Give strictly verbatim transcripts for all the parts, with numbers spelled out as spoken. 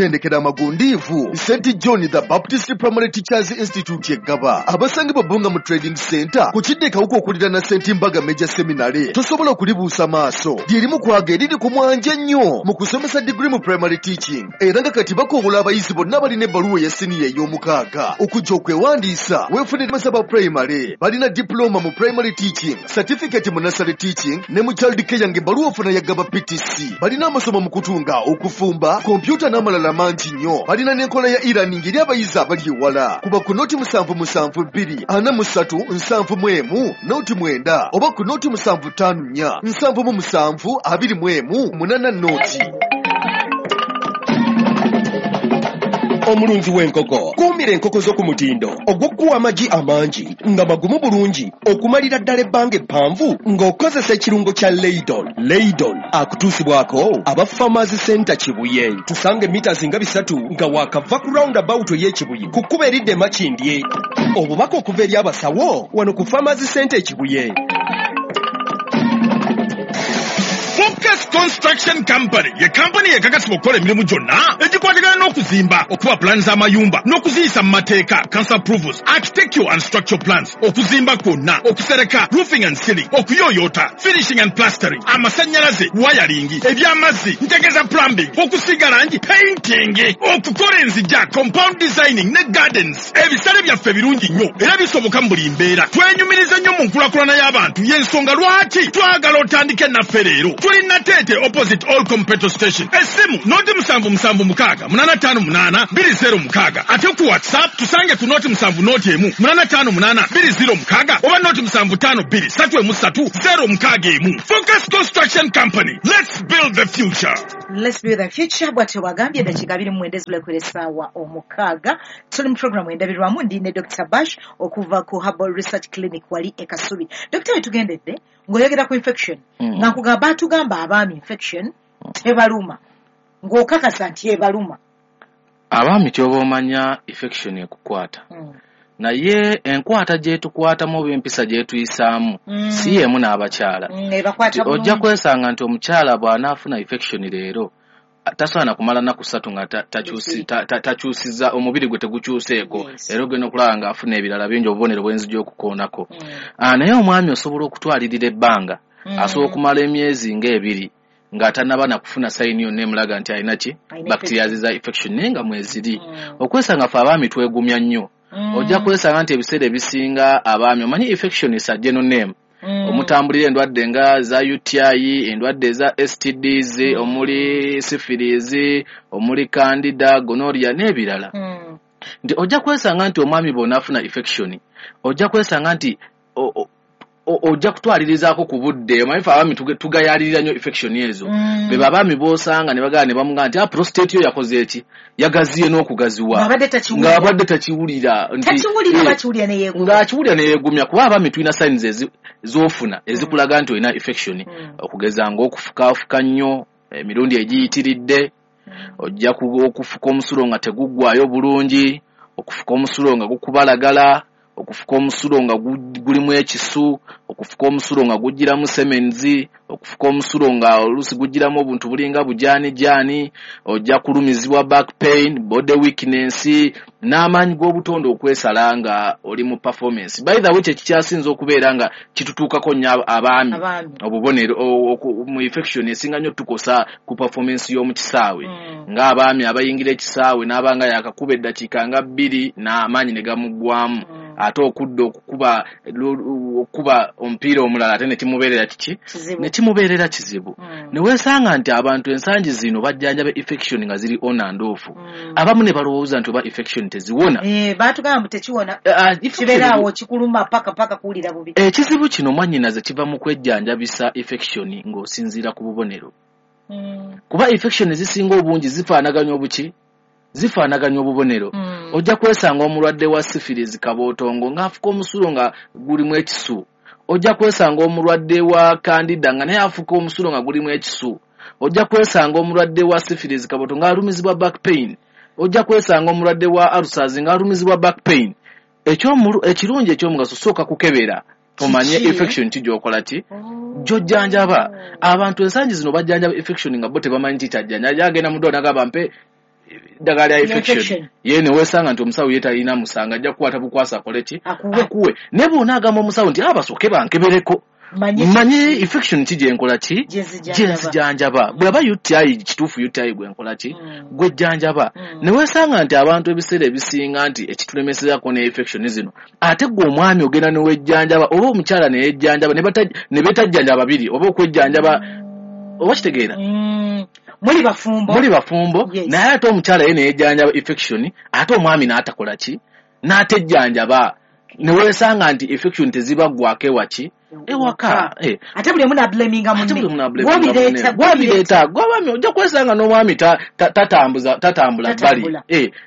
Tendekera amagundiivu Saint John the Baptist Primary Teachers Institute Eggaba, abasangibwa Bbunga mu Trading Center ku kidde Kawuka okuliraana Saint Mbaga Major Seminary. Tosobola kulibuusa maaso, lyerimu kwaga eriri ku mwanje ennyo mu kusomesa degree mu primary teaching, era nga kati bakowola abayizi bonna balina ebbaluwa eya siniya ey'omukaaga okujja okwewandiisa. Weefunire masaba primary, balina diploma mu primary teaching, certificate mu nursery teaching ne mu child care, ng'ebbaluwa ofuna ya Gaba P T C. Balina amasomo mu kutunga, okufumba, kompyuta n'amalala mangi nnyo. Balina n'enkola ya e-learning eri abayizi abali ewala. Kuba ku noti musanvu musanvu bbiri ana mu ssatu nsanvu mu emu noti mwenda oba ku noti musanvu ttaano nnya nsanvu mu musanvu abiri mu emu munana noti. Omulunzi w'enkoko, kuumira enkoko zo ku mutindo ogw'okuwa amagi amangi nga magumu bulungi okumalira ddala ebbanga eppanvu ng'okozesa ekirungo kya Leidon. Leidon akutuusibwako aba Farmers Center Kibuye. Tusange mita nga bisatu nga waakava ku roundabout ey'Ekibuye ku kkubo eridda e Makindye. Obubaka okuva eri abasawo wano ku Farmers Center Ekibuye. Focus Construction Company ye kampani ekakasibwa okukola emirimu gyonna egikwatagana n'okuzimba, okuba pulaani z'amayumba n'okuziyisa mu mateeka, council approvals, architectural and structural plans, okuzimba kwonna, okusereka, roofing and ceiling, okuyooyoota, finishing and plastering, amasannyalaze, wiring, ebyamazzi, ntegeeza plumbing, okusiiga langi, painting, okukola enzija, compound designing ne gardens. Ebisale byaffe birungi nnyo era bisoboka mu buli mbeera. Twenyumiriza nnyo mu nkulaakulana y'abantu, y'ensonga lwaki twagala otandike naffe leero. Tuli Nateete, opposite All Petrol Station. Essimu noti musanvu musanvu mukaaga munana ttaano munaana bbiri zero mukaaga. Ate ku WhatsApp tusange ku noti musanvu noti emu munana ttaano munaana bbiri zero mukaaga oba noti musanvu ttaano bbiri ssatu emu ssatu zero mukaaga emu. Focus Construction Company, let's build the future. Let's build the future, bwatyo bwagambye. Eddakiika abiri mu mwenda ezibulekera essaawa omukaaga, tuli mu programu Endabirwamu. Ndi ne Doctor Bash okuva ku Herbal Research Clinic wali e Kasubi. Dokita, wetugendedde ng'oyogera ku infection, Mm. nga nkugamba batugamba abaami infection tebaluma, ng'okakasa nti ebaluma. Abaami kyoba omanya infection ekukwata, Mm. naye enkwata gyetukwatamu oba empisa gyetuyisaamu Mm. si yemu n'abakyala. Mm, ebakwata Nti ojja bulungi. Kwesanga nti omukyala bw'anaafuna infection leero tasaana kumala nnaku ssatu nga ta- takyusi- ta- ta- takyusiza omubiri gwe, tegukyuseeko. Yes. Era ogenda okulaba ng'afuna ebirala bingi, obubonero bwenzija okukoonako. Mm. Ah, naye omwami osobola okutwalirira ebbanga, Mm. asobola okumala emyezi ng'ebiri nga tannaba nakufuna sign yonna emulaga nti alina ki, Alina bacteria za infection, naye nga mweziri. Mm. Okwesanga ffe abaami twegumya nnyo. Mm. Ojja kwesanga nti ebiseera ebisinga abaami, omanyi infection is a general name Mm. omutambulira endwadde nga za U T I, endwadde eza S T Ds, omuli syphilis, omuli candida, gonorrhea n'ebirala, Mm. nti ojja kwesanga nti omwami bw'onaafuna infection, ojja kwesanga nti o- o- o- ojja kutwalirizaako ku budde. Omanyi ffe abaami tuge- tugayaalirira nnyo infection ezo. Mm. Be abaami b'osanga ne bagamba ne bamugamba nti, "Ah, prostate yo yakoze eki? Yagaziye n'okugaziwa." Ng'abadde takiwulira. Ng'abadde takiwulira nti- Takiwulira. Eh, Bakiwulira ne yeegumya. Ng'akiwulira neyeegumya, kuba abaami tulina signs ezi- z'ofuna ezikulaga nti olina infection, Mm. okugeza ng'okufukaafuka nnyo emirundi egiyitiridde, ojja ku- okufuka omusulo nga teguggwayo bulungi, okufuka omusulo nga gukubalagala, okufuka omusulo nga gu- gulimu ekisu, okufuka omusulo nga gujjiramu semenzi, okufuka omusulo nga oluusi gujjiramu obuntu bulinga bujaanijaani, ojja kulumizibwa back pain, body weakness n'amaanyi g'obutonde okwesala nga oli mu performance. By the way, kye kikyasinza okubeera nga kitutuukako nnyo abaami, Abaami. Obubonero o- oku- mu infection esinga nnyo tukosa ku performance y'omu kisaawe, Mm. ng'abaami abayingira ekisaawe n'abanga yakakuba eddakiika nga bbiri n'amaanyi ne gamuggwamu, Mm. ate okudda okukuba lu- okukuba omupiira omulala ate ne kimubeerera kiki? Kizibu. Ne kimubeerera kizibu. Mm. Ne weesanga nti abantu ensangi zino bajjanjaba infection nga ziri on and off. Mm. Abamu ne balowooza nti oba infection teziwona. Eh, baatugamba mbu tekiwona. Eh, ah, infection Kibeeraawo kikuluma paka paka kuwulira bubi. Ekizibu kino, mwannyinaze, kiva mu kwejjanjabisa infection ng'osinziira ku bubonero, Mm. kuba infection ezisinga obungi zifaanaganya obuki, zifaanaganya obubonero. Mm. Ojja kwesanga omulwadde wa syphilis kabootongo ng'afuka omusulo nga gulimu ekisu, ojja kwesanga omulwadde wa candida nga naye afuka omusulo nga gulimu ekisu, ojja kwesanga omulwadde wa syphilis kabootongo ng'alumizibwa back pain, ojja kwesanga omulwadde wa ulcers ng'alumizibwa back pain. Ekyomulu- ekirungi ekyomugaso, sooka kukebera omanye Kiki? infection ki gy'okola ki, Oh. gy'ojjanjaba. Abantu ensangi zino bajjanjaba infection nga bo tebamanyi nti kyajjanja. Agenda mu ddwaliro n'agamba, "Mpe ddagala lya infection ye ne weesanga nti omusawo ye talina musanga ajja kukwata bukwasa akole ki akuwe naye bw'onaagamba omusawo nti abasooke bankebereko manye infection ki gye nkola ki gye nzijanjaba bw'aba U T I kituufu U T I gwe nkola ki gwe jjanjaba ne weesanga nti abantu ebiseera ebisinga nti ekitulemesezako ne infection zino ate gwe omwami ogenda ne wejjanjaba oba omukyala ne yejjanjaba ne betajjanjaba babiri oba okwejjanjaba oba kitegeera muli bafumbo muli bafumbo naye ate omukyala ye ne yejjanjaba infection ate omwami n'atakola ki n'atejjanjaba ne weesanga nti infection tezibaggwako ewaki ewaka ate buli omu n'ablaminga munne gwobireeta gwobireeta gw'abaami ojja kwesanga n'omwami tatambuza tatambula bbali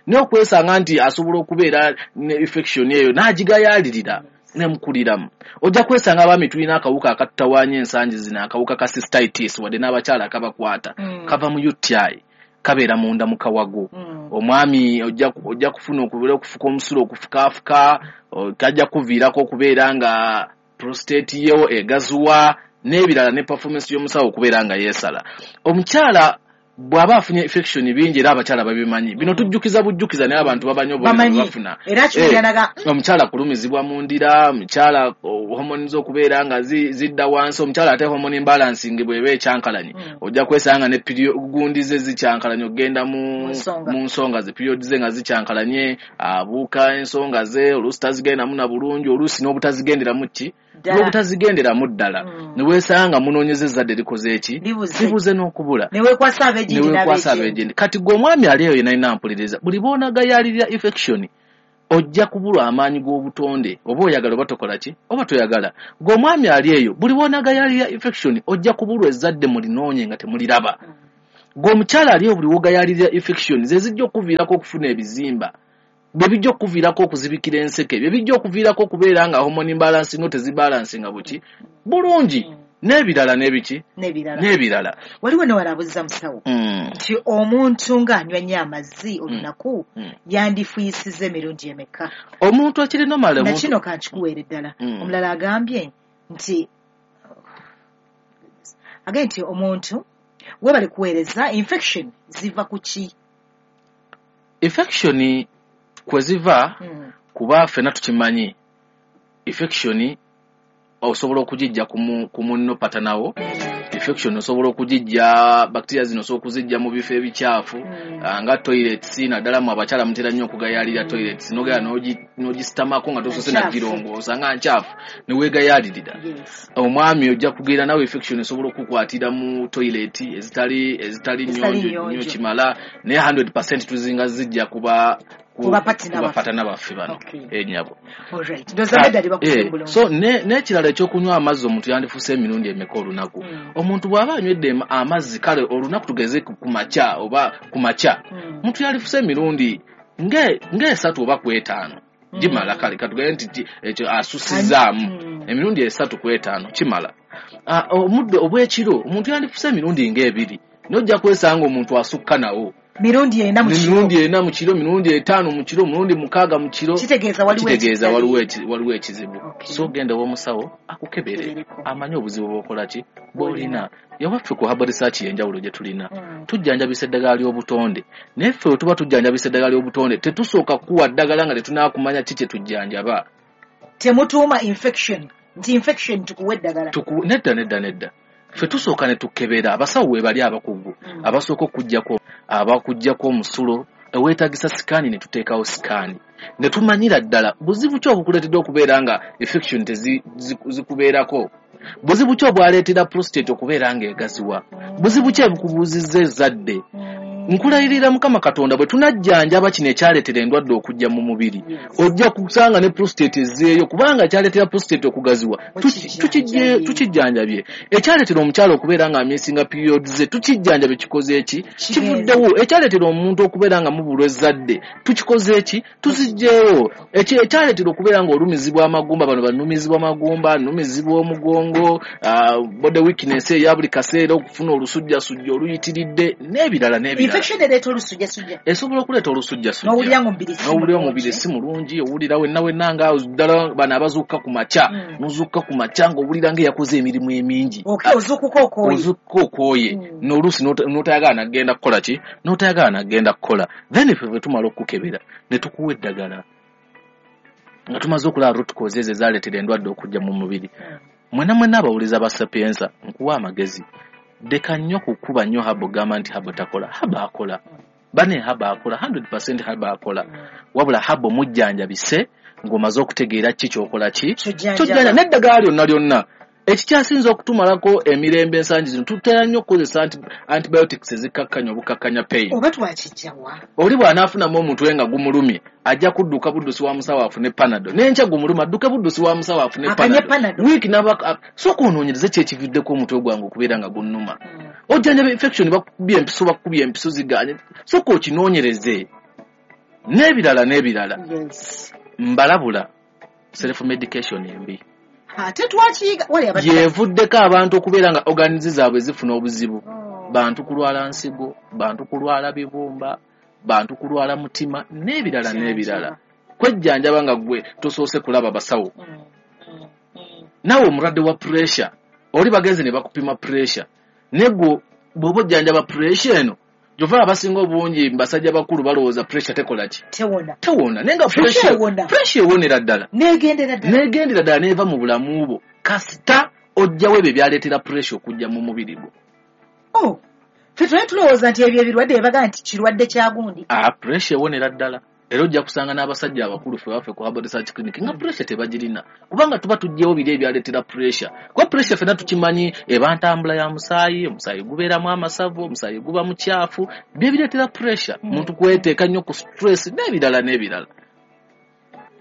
naye okwesanga nti asobola okubeera ne infection eyo n'agigayaalirira nemukuliramu ojja kwesanga abaami tulina akawuka akatutawaanya ensangi zino akawuka ka cystitis wadde n'abakyala akabakwata kava mu U T I kabeera munda mu kawago omwami ojja kufuna okubeera okufuka omusulo okufukaafuka kajja kuviirako okubeera nga prostate yo egazuwa n'ebirala ne performance y'omusawo okubeera nga yeesala omukyala bw'aba afunye infection bingi era abakyala babimanyi bino tujjukiza bujjukiza naye abantu babanyi obubonero bafuna omukyala kulumizibwa mu ndira omukyala hormone z'okubeera nga zidda wansi omukyala ate hormone imbalancing bw'eba ekyankalanye ojja kwesanga ne gundi ze zikyankalanye okugenda mu nsonga ze period ze nga zikyankalanye abuuka ensonga ze oluusi tazigendamu na bulungi oluusi n'obutazigenderamu ki n'obutazigenderamu ddala ne weesanga munoonyeza ezzadde likoze eki libuze n'okubula ne weekwasa abeegindi kati gwe omwami ali eyo yenalina mpuliriza buli bw'onagayaalirira infection ojja kubulwa amaanyi g'obutonde oba oyagala oba tokola ki oba toyagala gwe omwami ali eyo buli bw'onagayaalirira infection ojja kubulwa ezzadde mulinoonye nga temuliraba gwe omukyala ali eyo buli w'ogayaalirira infection ze zijja okuviirako okufuna ebizimba bye bijja okuviirako okuzibikira enseke bye bijja okuviirako okubeera nga hormone imbalance no tezibalansinga buki bulungi n'ebirala n'ebiki n'ebirala waliwo newalabuza musawo nti omuntu ng'anywa nnyo amazzi olunaku yandifuyisiza emirundi emeka omuntu akiri normal na kino kankikuweere ddala omulala agambye nti agambye nti omuntu webale kuweereza infection ziva ku ki infection kwe ziva kuba ffenna tukimanyi infection osobola okugijja ku munno patanawo infection osobola okugijja bacteria zino osobola okuzijja mu bifo ebikyafu nga toilets naddala mu abakyala mutera nnyo okugayaalirira toilets n'ogenda n'ogisitamako nga tosoose nagirongoosa nga nkyafu ne weegayaalirira omwami ojja kugenda nawe infection esobola okukwatira mu toilet ezitali ezitali nnyonjo nnyo kimala naye hundred percent tuzinga zijja kuba kuba patana baffe bano enyabo so n'ekirala ekyokunywa amazzi omuntu yandifuuse emirundi emeka olunaku omuntu bw'aba anywedde amazzi kale olunaku tugeze ku makya oba ku makya omuntu yandifuuse emirundi ng'esatu oba ku etaano gimala kale katugende nti ekyo asusizaamu emirundi esatu ku etaano kimala omudde obw'ekiro omuntu yandifuuse emirundi ng'ebiri n'ojja kwesanga omuntu asukka nawo mirundi ena mu kiro mirundi ena mu kiro mirundi etaano mu kiro mirundi mukaaga mu kiro kitegeeza waliwo waliwo ekizibu so genda w'omusawo akukebere amanye obuzibu bw'okola ki bw'olina ewaffe ku Herbal Research y'enjawulo gye tulina tujjanjabisa eddagala ly'obutonde naye ffe bwe tuba tujjanjabisa eddagala ly'obutonde tetusooka kuwa ddagala nga tetunaakumanya ki kye tujjanjaba temutuuma infection nti infection tukuwa eddagala nedda nedda nedda ffe tusooka ne tukebera abasawo we bali abakugu abasooka okuggyako abakuggyako omusulo eweetagisa sikaani ne tuteekawo sikaani ne tumanyira ddala buzibu ki obukuleetedde okubeera nga infection tezikubeerako buzibu ki obwaleetera prostate okubeera nga egaziwa buzibu ki obukubuuzizza ezzadde nkulayirira Mukama Katonda bwe tunajjanjaba kino ekyaleetera endwadde okujja mu mubiri ojja kusanga ne prostate ezzeeyo kubanga kyaleetera prostate okugaziwa tukijjanjabye ekyaleetera omukyala okubeera nga amisinga period ze tukijjanjabye kikoze eki kivuddewo ekyaleetera omuntu okubeera nga mubulwa ezzadde tukikoze eki tuzijjeewo ekyaleetera okubeera nga olumizibwa amagumba bano banumizibwa amagumba numizibwa omugongo body weakness eya buli kaseera okufuna olusujjasujja oluyitiridde n'ebirala n'ebirala Infection ereeta olusujjasujja. Esobola okuleeta olusujjasujja. N'owulira ng'omubiri si N'owulira omubiri si mulungi, owulira wenna wenna nga ddala bano abazuukuka ku makya, Mm. n'ozuukuka ku makya ng'owulira ng'eyakoze emirimu emingi. Okay, ozuukuka okooye. Ozuukuka okooye. Mm. N'oluusi n'ota- n'otayagala nagenda kukola ki? N'otayagala nagenda kukola. Then ffe bwe tumala okukukebera ne tukuwa eddagala. Nga tumaze okulaba root causes ezo ezaaleetera endwadde okujja mu mubiri. Mm. Mwenna mwenna abawuliza ba Sapienza, nkuwa amagezi. Leka nnyo kukuba nnyo habo gamba nti habo takola. Habo akola. Bane habo akola, hundred percent habo akola. Wabula habo mujjanjabise ng'omaze okutegeera ki ky'okola ki? Ky'ojjanjaba. Ky'ojjanja n'eddagala lyonna lyonna. Ekikyasinze okutumalako emirembe ensangi zino, tutera nnyo okukozesa anti-, antibiotics ezikkakkanya obukakkanya pain. Oba twakijjawa? Oli bw'anaafunamu omutwe nga gumulumye, ajja kudduka buddusi wa musawo afune Panadol. N'enkya gumuluma, adduke buddusi wa musawo afune Akanye Panadol. Panadol. Wiiki n'aba, a-, sooka onoonyereze ki ekivuddeko omutwe gwange okubeera nga gunnuma. Mm. Ojjanjaba infection, bakukubye empiso, bakukubye empiso zigaanye. Sooka okinoonyereze. N'ebirala n'ebirala. Yes. Mbalabula self medication embi. Ate twakiyiga, wali abadde Yeevuddeko abantu okubeera nga organs zaabwe zifuna obuzibu. Oh. Bantu kulwala nsigo, bantu kulwala bibumba, bantu kulwala mutima, n'ebirala Kyakira. n'ebirala. Kwejjanjaba nga ggwe tosoose kulaba basawo. Mm, mm, mm. Naawe omulwadde wa pressure, oli bagenze ne bakupima pressure. Naye ggwe bw'oba ojjanjaba pressure eno, kyova abasinga obungi basajja bakulu balowooza pressure tekola ki? Tewona. Tewona. Naye nga Pressure pressure ewona. pressure ewonera ddala. N'egendera ddala. N'egendera ddala n'eva mu bulamu bwo. Kasita ojjawo ebyo ebyaleetera pressure okujja mu mubiri gwo. Oh, ffe twali tulowooza nti ebyo ebirwadde bye nti kirwadde kya gundi. Ah, pressure ewonera ddala. Era ojja kusanga n'abasajja abakulu ffe baffe ku Herbal Research Clinic nga pressure tebagirina. Kubanga tuba tuggyewo biri ebyaleetera pressure. Kuba pressure ffenna tukimanyi eba ntambula ya musaayi, omusaayi gubeeramu amasavu, omusaayi guba mukyafu, bye bireetera pressure. Mm. Muntu kweteeka nnyo ku stress n'ebirala n'ebirala.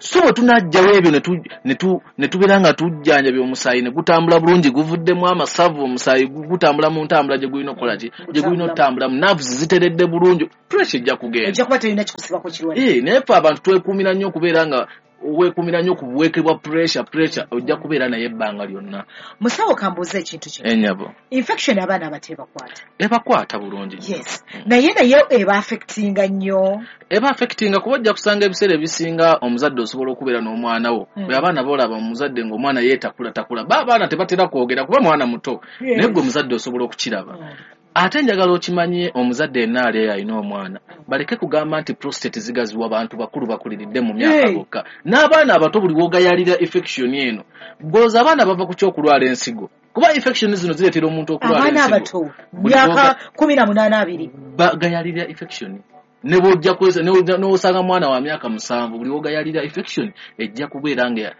So bwe tunaggyawo ebyo ne tu-, ne tu-, ne tubeera nga tujjanjabya omusaayi ne gutambula bulungi, guvuddemu amasavu, omusaayi gu-, gutambula mu ntambula gye gulina okukola ki? Gye gulina okutambulamu. Nerves ziteredde bulungi, pressure ejja kugenda. Ejja kuba terina kikusibako kirwadde. Eh, naye ffe abantu twekuumira nnyo okubeera nga weekuumira nnyo ku buweeke bwa pressure, pressure ojja kubeera naye ebbanga lyonna. Musawo, kambuuze ekintu kino. Ennyabo. Infection abaana abato ebakwata. Ebakwata bulungi nnyo. Yes. Naye naye eba affectinga nnyo. Eba affectinga kuba ojja kusanga ebiseera ebisinga omuzadde osobola okubeera n'omwana wo. Mm. Bwe abaana boolaba omuzadde ng'omwana yeetakulatakula, ba abaana tebatera kwogera kuba mwana muto. Yes. Naye gwe omuzadde osobola okukiraba. Mm. Ate njagala okimanye omuzadde yenna ali eyo alina omwana, baleke kugamba nti prostate zigaziwa bantu bakulu bakuliridde mu myaka Hey. bokka. N'abaana abato buli w'ogayalira infection eno, bw'oza abaana bava ku ky'okulwala ensigo. Kuba infection zino zireetera omuntu okulwala Abaana ensigo. abato, Buli myaka bw'oga- kumi na munaana abiri. Bagayalira infection. Ne bw'ojja kweza, ne bw'ojja, n'osanga mwana wa myaka musanvu, buli w'ogayalira infection ejja kubeera nga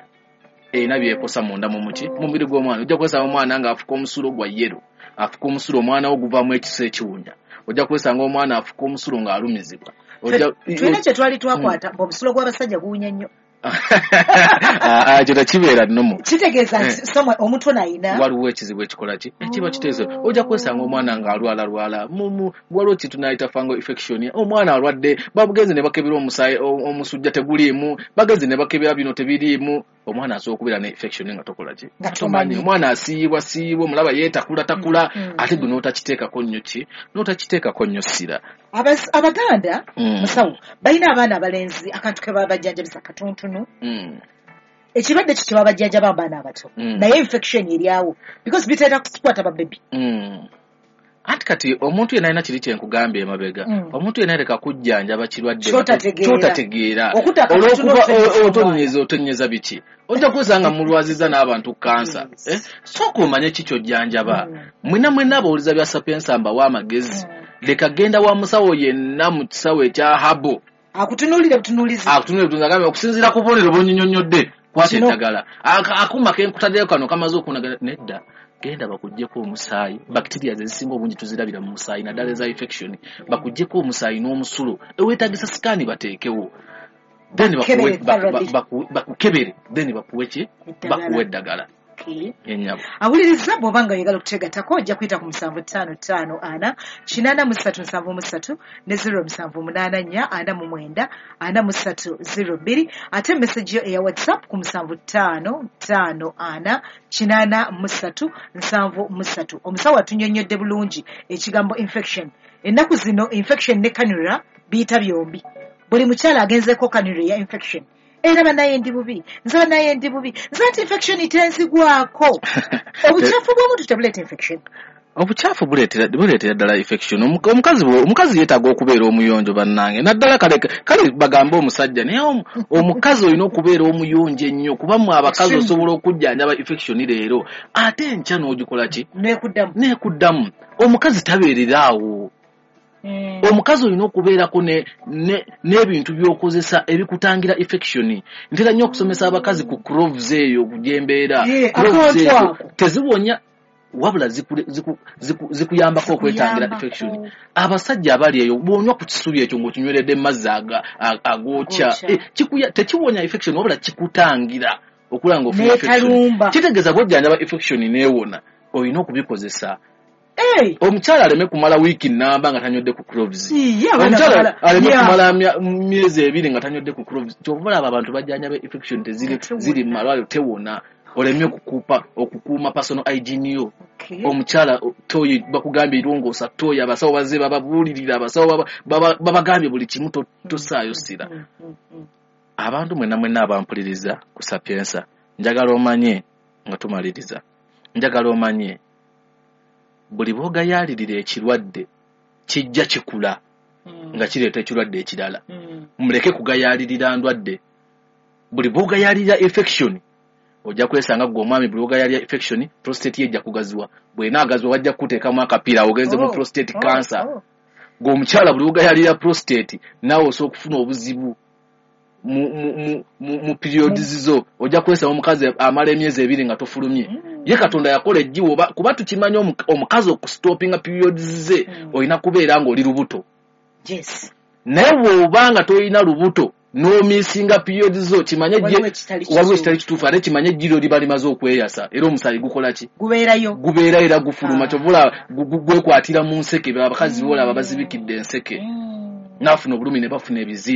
erina by'ekosa munda mu muki, mu mubiri gw'omwana. Ojja kwesanga omwana ng'afuka omusulo gwa yellow. Afuka omusulo omwana wo guvaamu ekiso ekiwunya. Ojja kwesanga omwana afuka omusulo ng'alumizibwa. Ojja- Ffe, tulina kye twali twakwata, mbu omusulo gw'abasajja guwunya nnyo. Ah, ah, ekyo tekibeera nnomo. Kitegeeza nti Eh. somewhere omuntu ono ayina Waliwo ekizibu ekikola ki? Ekiba kitegeeza ojja kwesanga omwana ng'alwalalwala. Mu, mu, waliwo kye tunayita fungal infection. Omwana alwadde, bamugenze ne bakebera omusaayi, o-, omusujja teguliimu, bagenze ne bakebera bino tebiriimu. Omwana asobola okubeera ne infection nga tokola ki? Nga tomanyi. Omwana asiiyibwa siiyibwa, omulaba yeetakulatakula, Mm, mm. ate gwe n'otakiteekako nnyo ki? N'otakiteekako nnyo ssira. Abas-, Abaganda, Mm. musawo, balina abaana abalenzi akantu ke babajjanjabisa katonotono. Mm. Ekirwadde kyo kye babajjanjaba abaana abato. Mm. Naye infection eri awo. Because bitera kukwata babebi. Mm. Anti kati omuntu yenna alina kiri kye nkugambye emabega. Mm. Omuntu yenna aleka kujjanjaba kirwadde Ky'otategeera. ky'otategeera. Okutta akatono Olw'okuba otonnyeza o-, otonnyeza, otonnyeza biki? Ojja kwesanga mulwaziza n'abantu kansa. Yes. Eh? Sooka omanye ki ky'ojjanjaba. Mm. Mwenna mwenna abawuliza bya Sapienza mbawa amagezi. Mm. Leka genda wa musawo yenna mu kisawo ekya Habo. Akutunuulire butunuulizi. Akutunuulire butunuulizi, agambe okusinziira ku bubonero bw'onnyinyonnyodde, kwata Kino. eddagala. Aka-, akuuma ke nkutaddeyo kano kamaze okunagala, nedda. Genda bakuggyeko omusaayi. Bacteria ezisinga obungi tuzirabira mu musaayi, naddala eza infection. Bakuggyeko omusaayi n'omusulo. Eweetaagisa sikaani bateekewo. Then bakuwe, Bakebere thoroughly. baku-, baku-, bakukebere. Then bakuwe ki? Eddagala. Bakuwe eddagala. Okay. Ennyabo. Awuliriza bw'oba nga oyagala okuteegattako ojja kuyita ku musanvu ttaano ttaano ana kinaana mu ssatu nsanvu mu ssatu ne zero musanvu munaana nnya ana mu mwenda ana mu ssatu zero bbiri, ate message yo eya WhatsApp ku musanvu ttaano ttaano ana kinaana mu ssatu nsanvu mu ssatu. Omusawo atunnyonnyodde bulungi ekigambo infection. Ennaku zino infection ne cannula biyita byombi. Buli mukyala agenzeeko cannula ya infection, era banaye ndi bubi, nze banaye ndi bubi, nze nti infection tenzigwako. Obukyafu bw'omuntu tebuleeta infection? Obukyafu buleetera buleetera ddala infection. Omuka- omukazi bwe- omukazi yeetaaga okubeera omuyonjo, bannange, naddala kale kale bagambe omusajja, naye omu- omukazi olina okubeera omuyonjo ennyo, kuba mmwe abakazi Extremely. osobola okujjanjaba infection leero, ate enkya n'ogikola ki? Nekuddamu. Neekuddamu. Omukazi tabeerera awo. Omukazi olina okubeerako ne- ne- n'ebintu by'okozesa ebikutangira infection. Ntera nnyo okusomesa abakazi ku cloves eyo gyembeera. Eh, Cloves akantu ezo ako. teziwonya, wabula zikule- ziku- ziku- zikuyambako okwetangira Zikuyambako. infection. Abasajja abali eyo, bw'onywa ku kisubi ekyo ng'okinyweredde mu mazzi aga- a- agookya, Agookya. eh, kikuya- tekiwonya infection, wabula kikutangira okulaba ng'ofuna infection. Neetalumba. Kitegeeza bw'ojjanjaba infection neewona, olina okubikozesa. Hey! Omukyala aleme kumala wiiki nnamba nga tanywedde ku cloves. Iye, abaana Omukyala balala. aleme Yeah. kumala mya- myezi ebiri nga tanywedde ku cloves. Kyova olaba abantu bajjanjaba infection teziri Tewona. ziri mu malwaliro, tewona. Olemye okukuupa okukuuma personal hygiene yo. Okay. Omukyala o- toyi bakugambye irongoosa toyi, abasawo bazze bababuulirira, abasawo baba- baba- babagambye buli kimu, to- tosaayo ssira. Mm, mm, mm. Abantu mwenna mwenna abampuliriza ku Sapiensa, njagala omanye nga tumaliriza, njagala omanye buli bw'ogayaalirira ekirwadde kijja kikula Mm. nga kireeta ekirwadde ekirala. Mm. Muleke kugayaalirira ndwadde. Buli bw'ogayaalirira infection, ojja kwesanga gwe omwami, buli bw'ogayaalirira infection, prostate ye ejja kugaziwa. Bw'enaagaziwa, wajja kukuteekamu akapiira ogenze mu Oh, prostate oh, cancer. oh. Gwe omukyala, buli bw'ogayaalirira prostate, naawe osobola okufuna obuzibu mu, mu, mu, mu, mu periods zo. Ojja kwesanga omukazi amala emyezi ebiri nga tofulumye. Mm. Ye Katonda yakola ejjiwo oba- kuba tukimanyi omu- omukazi okustopinga periods ze Mm. olina kubeera ng'oli lubuto. Yes. Naye bw'oba nga tolina lubuto n'omisinga periods zo, kimanye Waliwo gye- ekitali waliwo kituufu. ekitali kituufu. Ate kimanye ejjiro liba limaze okweyasa, era omusaayi gukola ki? Gubeerayo. Gubeera era gufuluma. Ah. Kyova olaba gu- gu- gwekwatira mu nseke. Abakazi boolaba bazibikidde enseke, Mm. naafuna obulumi ne bafuna ebizibu.